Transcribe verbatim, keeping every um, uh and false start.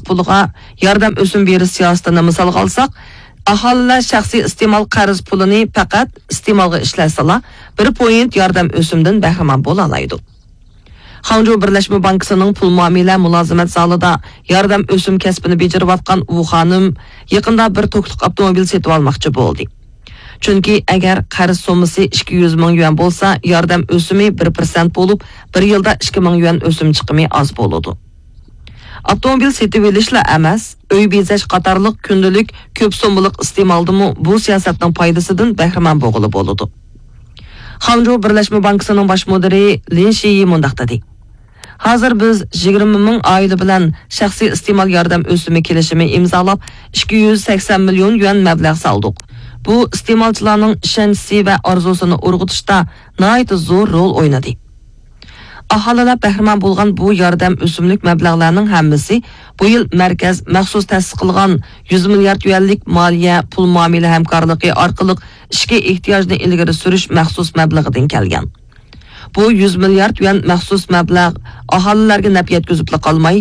پۇلىغا ياردەم ئۆسۈم بېرىش سىياسىتىنى مىسالغا ئالساق، ئاھالىلەر شەخسىي ئىستېمال قەرز پۇلىنى پەقەت ئىستېمالغا ئىشلەتسىلا، بىر پوينت ياردەم ئۆسۈمدىن بەھرىمەن بولالايدۇ. خاڭجۇ بىرلەشمە بانكىسىنىڭ پۇل مۇئامىلە مۇلازىمەت زالىدا ياردەم ئۆسۈم كەسپىنى بېجىرىۋاتقان ۋۇ خانىم يېقىندا بىر توكلۇق ئاپتوموبىل سېتىۋالماقچى بولدى. چۈنكى ئەگەر قەرز سوممىسى ئىككى يۈز مىڭ يۈەن بولسا، ياردەم ئۆسۈمى بىر پىرسەنت بولۇپ، بىر يىلدا ئىككى مىڭ يۈەن ئۆسۈم چىقىمى ئاز بولىدۇ. ئاپتوموبىل سېتىۋېلىشلا ئەمەس، ئۆي بېزەش قاتارلىق كۈندىلىك كۆپ سوممىلىق ئىستېمالدىمۇ بۇ سىياسەتنىڭ پايدىسىدىن بەھرىمەن بولغىلى بولىدۇ. خاڭجۇ بىرلەشمە بانكىسىنىڭ باش مۇدىرى لىن شىيى مۇنداق دېدى: ھازىر بىز يىگىرمە مىڭ ئائىلە بىلەن شەخسىي ئىستېمال ياردەم ئۆسۈمى كېلىشىمى ئىمزالاپ، ئىككى يۈز سەكسەن مىليون يۈەن مەبلەغ سالدۇق. بۇ ئىستېمالچىلارنىڭ ئىشەنچىسى ۋە ئارزۇسىنى ئۇرغۇتۇشتا ناھايىتى زور رول ئوينىدى. ئاھالىلەر بەھرىمەن بولغان بۇ ياردەم ئۆسۈملۈك مەبلەغلەرنىڭ ھەممىسى بۇ يىل مەركەز مەخسۇس تەسىس قىلغان يۈز مىليارد يۈەنلىك مالىيە، پۇل مۇئامىلە ھەمكارلىقى ئارقىلىق ئىچكى ئېھتىياجنى ئىلگىرى سۈرۈش مەخسۇس مەبلىغىدىن كەلگەن. بۇ يۈز مىليارد يۈەن مەخسۇس مەبلەغ ئاھالىلەرگە نەپ يەتكۈزۈپلا قالماي،